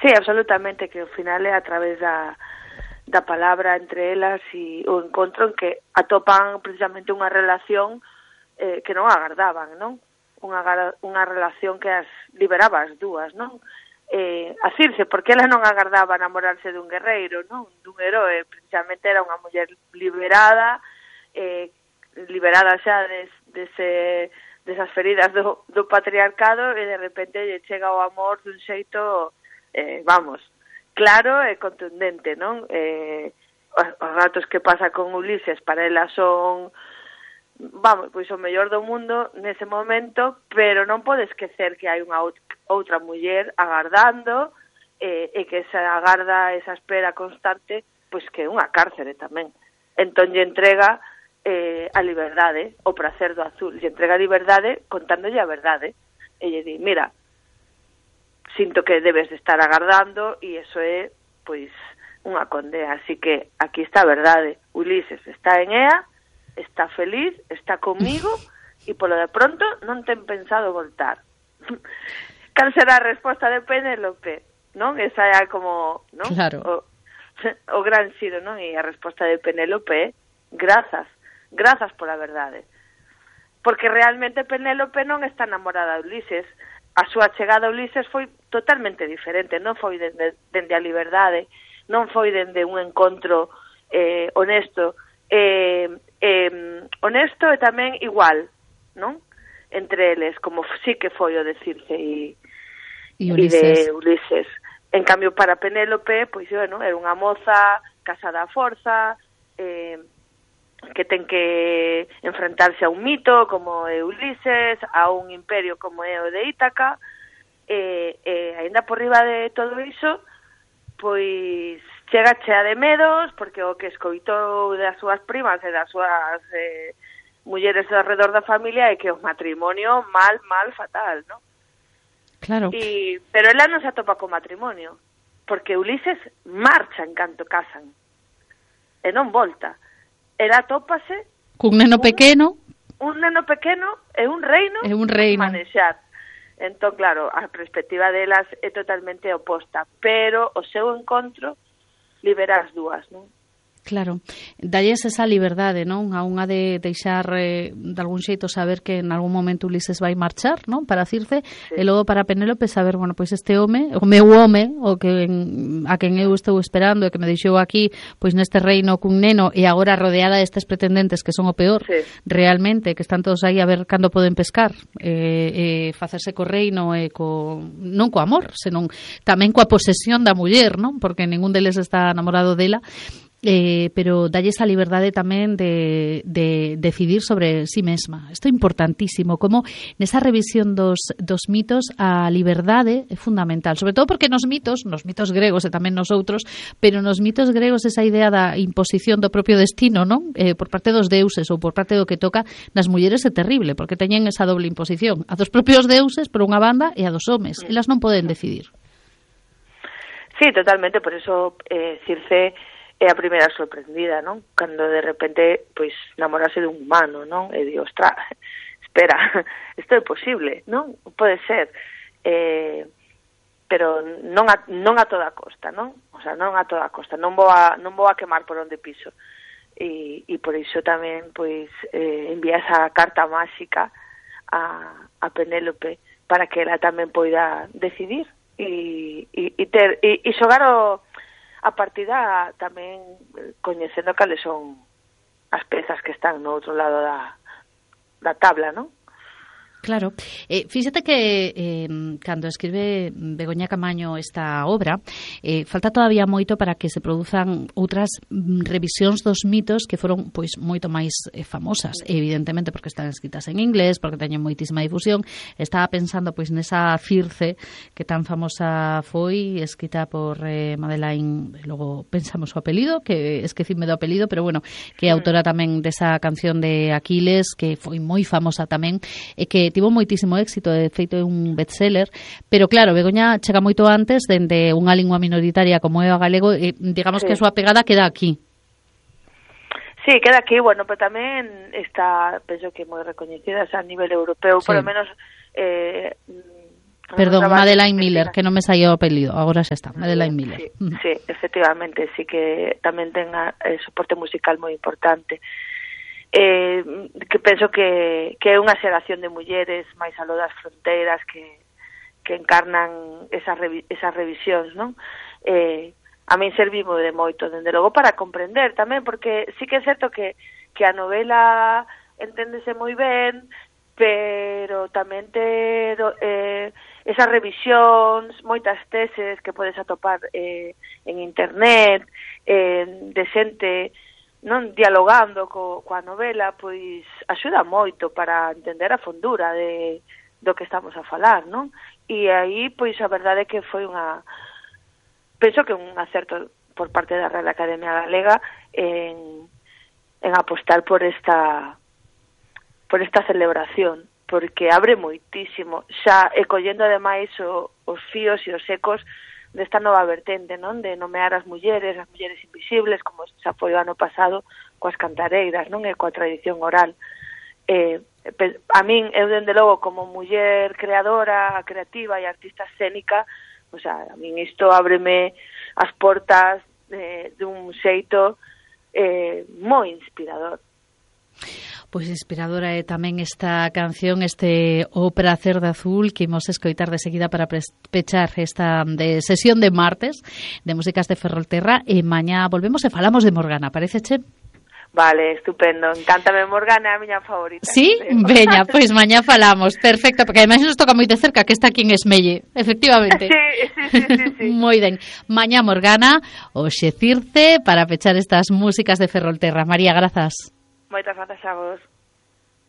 Sí, absolutamente, que ao final é a través da palabra entre elas e o encontro en que atopan precisamente unha relación que non agardaban, non? Unha relación que as liberaba as dúas, non? A Circe, porque ela non agardaba namorarse dun guerreiro, non? Dun heroe, precisamente era unha muller liberada, liberada xa desas feridas do patriarcado, e de repente lle chega o amor dun xeito, claro e contundente, non? Os ratos que pasa con Ulises para ela son, pois o mellor do mundo nese momento, pero non pode esquecer que hai unha outra muller agardando, e que esa agarda, esa espera constante, pois que é unha cárcere tamén. Entón lle entrega a liberdade, o prazer do azul, lle entrega a liberdade contándolle a verdade, e lle di, mira, sinto que debes de estar agardando, e iso é, pois, unha condena. Así que aquí está a verdade. Ulises está en Ea, está feliz, está comigo, e polo de pronto non ten pensado voltar. Cal será a resposta de Penélope? Non? Esa é como, non? Claro. O gran xiro, non? E a resposta de Penélope é grazas pola verdade. Porque realmente Penélope non está enamorada de Ulises. A súa chegada a Ulises foi totalmente diferente, non foi dende a liberdade, non foi dende un encontro honesto, honesto e tamén igual, non? Entre eles, como sí que foi o de Circe e de Ulises. En cambio, para Penélope, pois, bueno, era unha moza casada a forza, que ten que enfrentarse a un mito como é Ulises, a un imperio como é o de Ítaca, e aínda por riba de todo iso, pois chega chea de medos, porque o que escoitou das súas primas e das súas mulleres ao redor da familia é que o matrimonio mal, fatal, non? Claro. Pero ela non se atopa co matrimonio, porque Ulises marcha en canto casan, e non volta. Ela atópase cun neno pequeno, e un reino manexar. Entón, claro, a perspectiva delas é totalmente oposta, pero o seu encontro libera as dúas, non? Claro, dalles esa liberdade, non? A unha de deixar de algún xeito saber que en algún momento Ulises vai marchar, non? Para Circe, sí. E logo para Penélope saber, bueno, pois este home, o meu home, o que a quen eu estou esperando e que me deixou aquí, pois neste reino cun neno e agora rodeada destes pretendentes que son o peor, sí. Realmente, que están todos aí a ver cando poden pescar, facerse co reino e non co amor, senón tamén coa posesión da muller, non? Porque ningún deles está enamorado dela. Pero dalle esa liberdade tamén de decidir sobre si mesma. Isto é importantísimo, como nesa revisión dos mitos a liberdade é fundamental, sobre todo porque nos mitos gregos e tamén nos outros, pero nos mitos gregos esa idea da imposición do propio destino, non? Por parte dos deuses ou por parte do que toca nas mulleres é terrible, porque teñen esa doble imposición, a dos propios deuses por unha banda e a dos homes, elas non poden decidir. Sí, totalmente, por eso Circe é a primeira sorprendida, non? Cando de repente, pois, namorase dun humano, non? E di, ostra, espera, isto é posible, non? Pode ser. Pero non a toda costa, non? O sea, non a toda costa. Non vou a quemar por onde piso. E por iso tamén, pois, envía esa carta máxica a Penélope para que ela tamén poida decidir e xogar a partida tamén coñecendo cales son as pezas que están no outro lado da tabla, non? Claro. Fíxate que cando escribe Begoña Camaño esta obra, falta todavía moito para que se produzan outras revisións dos mitos que foron pois moito máis famosas, evidentemente porque están escritas en inglés, porque teñen moitísima difusión. Estaba pensando pois nesa Circe que tan famosa foi, escrita por Madeleine, logo pensamos o apelido, que esquecime do apelido, pero bueno, que é autora tamén desa canción de Aquiles, que foi moi famosa tamén, e que tivo moitísimo éxito, de feito é un bestseller, pero claro, Begoña chega moito antes dende unha lingua minoritaria como é o galego, e digamos que a súa pegada queda aquí. Sí, queda aquí, bueno, pero tamén está, penso que moi recoñecida a nivel europeo, por lo menos Perdón, Madeleine Miller, que non me saía o apelido, agora xa está, Madeleine Miller. Sí, efectivamente, sí que tamén ten soporte musical moi importante. Que penso que é unha xeración de mulleres máis aló das fronteiras que encarnan esas revisións, non? A min servimo de moito, dende logo, para comprender tamén, porque sí que é certo que a novela enténdese moi ben, pero tamén ter esas revisións, moitas teses que podes atopar en internet, de xente non dialogando coa novela, pois axuda moito para entender a fondura do que estamos a falar, non? E aí, pois, a verdade é que foi penso que un acerto por parte da Real Academia Galega en apostar por esta celebración, porque abre moitísimo, xa e collendo ademais os fíos e os ecos desta nova vertente, non? De nomear as mulleres invisibles, como xa foi o ano pasado coas cantareiras, non? E coa tradición oral. A min, eu dende logo, como muller creadora, creativa e artista escénica, o sea, a min isto ábreme as portas dun xeito moi inspirador. Pois inspiradora é tamén esta canción, este O Pracer de Azul, que imos escoitar de seguida para pechar esta sesión de martes de músicas de Ferrolterra, e mañá volvemos e falamos de Morgana, paréceche? Vale, estupendo, encántame Morgana, é a miña favorita. Sí? Veña, pois mañá falamos, perfecto, porque ademais nos toca moi de cerca, que está aquí en Esmelle, efectivamente. Sí. Moi ben, mañá Morgana, hoxe Circe, para pechar estas músicas de Ferrolterra. María, grazas. Moitas grazas a vos.